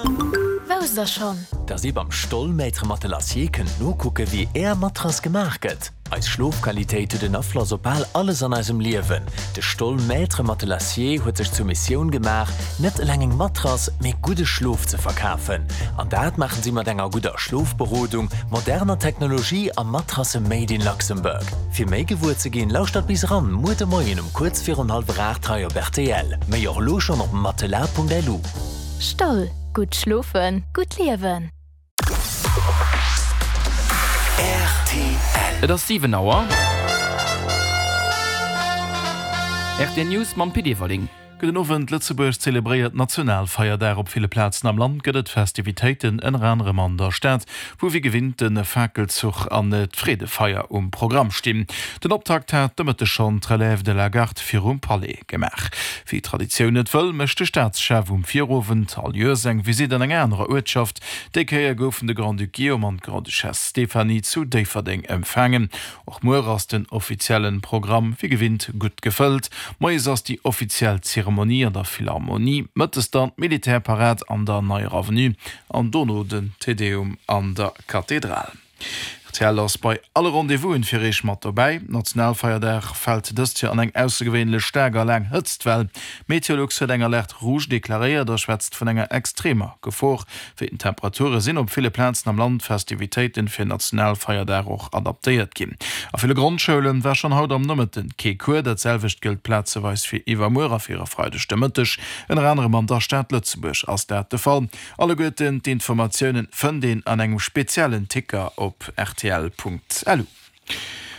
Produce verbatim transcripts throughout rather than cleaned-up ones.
Wousst der schonn? Dass dir beim Stoll Maître Matelassier kënnt nokucke wéi är Matrass gemaach gëtt. Eis Schlofqualitéit huet en Afloss op bal alles an eisem Liewen. De Stoll Maître Matelassier huet sech zur Missioun gemaach, net eleng eng Matrass, mee gudde Schlof ze verkafen. An dat maachen si mat enger gudder Schlofberodung, moderner Technologie a Matrasse made in Luxembourg. Fir méi gewuer ze ginn, lauschtert bis eran muer de Moien um kuerz virun hallwer aacht hei op rtl. Méi och elo schonn op matelas.lu. Stoll, gutt schlofen, gutt liewen. Et ass siwen Auer. Rtl News mam Pit Everling. Gudden Owend, Lëtzebuerg zelebréiert Nationalfeierdag. Op ville Plazen am Land gëtt et Festivitéiten, ënner anerem an der Stad, wou wéi gewinnt de Fakelzuch an d'Freedefeier um Programm stinn. Den Optakt hat de Mëtteg schonn d'Relève de la Garde virum Palais gemaach. Wéi d'Traditioun et wëll, mécht de Staatschef um Virowend all Joers eng Visitt an enger anerer Uertschaft. Déi Kéier goufen de Grand-Duc Guillaume an d'Grande-Duchesse Stéphanie zu Déifferdeng empfaangen. Och muer ass den offizielle Programm wéi gewinnt gutt gefëllt. Moies ass déi offiziell Zeremonie an der Philharmonie, mëttes dann d'Militärparad an der Neier Avenue an dono den Te Deum an der Kathedral. Rtl ass bei alle Rendez-vousen fir iech mat dobäi. Nationalfeierdag fält dëst Joer an eng aussergewéinlech staark a laang Hëtztwell. Meteolux huet eng Alerte rouge deklaréiert a schwätzt vun enger extremer Gefor. Wéinst den Temperature sinn op ville Plazen am Land d'Festivitéiten fir Nationalfeierdag och adaptéiert ginn. A ville Grondschoule war schonn haut am Nomëtte kee Cours. Dat selwecht gëllt plazeweis fir iwwermuer a fir e Freideg de Mëtteg. Ënner anerem an der Stad Lëtzebuerg ass dat de Fall. Alleguerten d'Informatiounen fënnt een an engem speziellen Ticker op rtl.lu.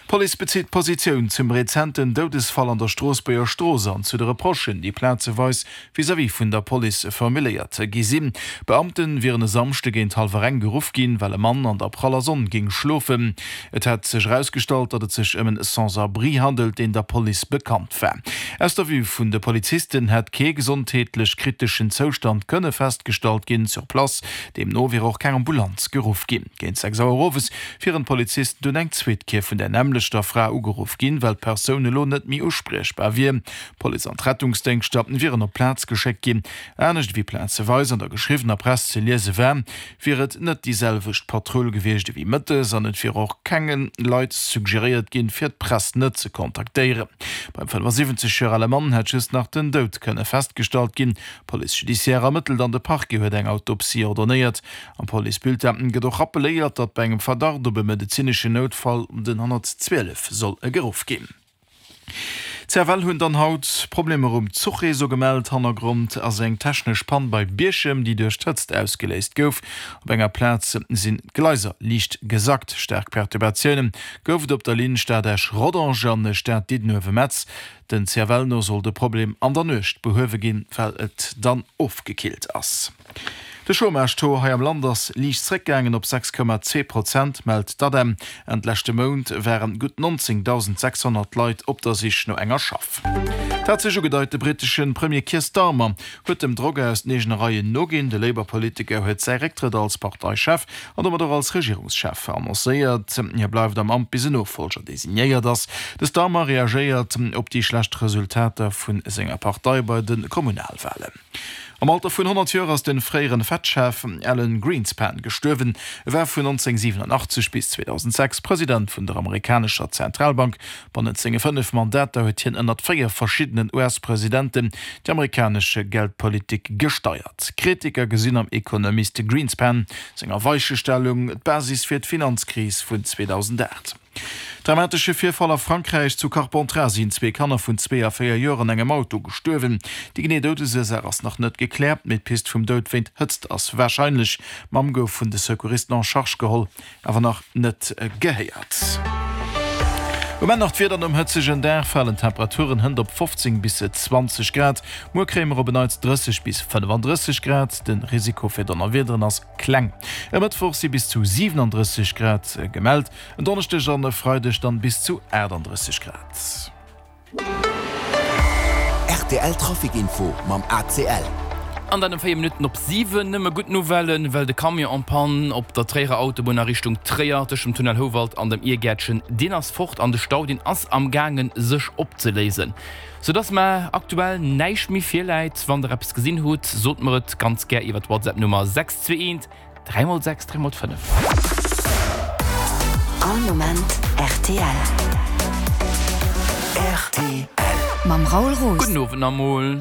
D'Police bezitt Positioun zum rezenten Doudesfall an der Stroossbuerger Strooss an zu de Reprochen, déi plazeweis vis-à-vis vun der Police formuléiert gi sinn. Beamte wieren e Samschde géint hallwer eng geruff ginn, well e Mann an der praller Sonn géing schlofen. Et hätt sech erausgestallt, datt et sech ëm en Sans-abri handelt, deen der Police bekannt war. Aus der Vue vun de Polizisten hätt kee gesondheetlech kriteschen Zoustand kënne festgestallt ginn sur place. Deemno wier och keng Ambulanz geruff ginn. Géint sechs Auer owes wieren d'Polizisten dunn eng zweet Kéier vun der nämmlechter Fra ugeruff ginn, well d'Persoun elo net méi uspriechbar wier. D'Police an d'Rettungsdéngschter wieren op d'Plaz geschéckt ginn. Anescht ewéi plazeweis an der geschriwwener Press ze liese war, wier et net déi selwecht Patrull gewiescht ewéi mëttes an et wier och kenge Leit suggeréiert ginn, fir d'Press net ze kontaktéieren. Beim fënnefasiwwenzeg Joer ale Mann hätt just nach den Doud kënne festgestallt ginn. D'Police judiciaire ermëttelt an de Parquet huet eng Autopsie ordonéiert. Am Policebulletin gëtt och rappeléiert, datt bei engem Verdacht op e medezineschen Noutfall den honnertzwielef soll geruff ginn. D'-C F L hunn dann haut Problemer um Zuchreseau gemellt. Hannergrond ass eng technesch Pann bei Bierchem, déi duerch d'Hëtzt ausgeléist gouf. Op enger Plaz sinn d'Gleiser liicht gesackt. Staark Perturbatioune gouf et op der Linn Stad-Esch-Rodange an Stad-Diddenuewe-Metz. Den C F L no soll de Problem an der Nuecht behuewe ginn, well et dann ofgekillt ass. De Chômage-Taux hei am Land ass liicht zréckgaangen op sechs Komma zwee Prozent, mellt d'ADEM. Enn leschte Mount waren gutt nonzéngdausend sechshonnert Leit op der Sich no enger Schaff. Dat hat sech ugedeit, de britteschen Premier Keir Starmer huet dem Drock aus den eegene Reien noginn. De Labour-Politiker huet säi Récktrëtt als Parteichef an domat och als Regierungschef annoncéiert. Hie bleift am Amt bis en Nofollger designéiert ass. De Starmer reagéiert op déi schlecht Resultater vu senger Partei bei de Kommunalwalen. Am Alter vun honnert Joer ass de fréieren Fed-Chef Alan Greenspan gestuerwen. E war vun nonzénghonnertsiwwenenachtzeg bis zweedausendsechs President vun der amerikanescher Zentralbank. Bannent senge fënnef Mandater huet hien ënnert véier verschiddenen U S-Presidenten déi amerikanesch Geldpolitik gesteiert. Kritiker gesinn am Ekonomist Greenspan senger Weichestellung d'Basis fir d'Finanzkris vun zweedausendacht. Dramatesche Virfall a Frankräich, Zu Carpentras sinn zwee Kanner vun zwee a véier Joer an engem Auto gestuerwen. Déi genee Doudesursaach ass nach net gekläert, mee d'Pist vum Doud wéint Hëtzt ass warscheinlech. D'Mamm gouf vun de Secouristen en charge geholl, awer nach net gehéiert. Um Enn nach d'Wieder, Nom hëtzegen Dag falen d'Temperaturen hënt op fofzéng bis zwanzeg Grad. Muer kréie mer op en Neits drësseg bis fënnefandrësseg Grad. De Risiko fir Donnerwiederen ass kleng. E Mëttwoch si bis zu siwenandrësseg Grad gemellt, en Donneschdeg an e Freideg dann bis zu achtandrësseg Grad. Rtl Trafic Info mam A C L. An dann ëm véier Minutten op siwen nëmme gutt Nouvellen, well de Camion en panne op der Tréierer Autobunn a Richtung Tréier tëscht dem Tunnel Houwald an dem Irgäertchen, deen ass fort an de Stau deen ass am gaangen sech opzeléisen, sou dass mer aktuell näischt méi virläit. Wann der eppes gesinn hutt, sot mer et ganz gär iwwer d'Whatsapp Nummer sechs zwee eent dräi mol sechs dräi mol fënnef. All Moment rtl. Rtl. Mam Raoul Roos. Gudden Owend namol.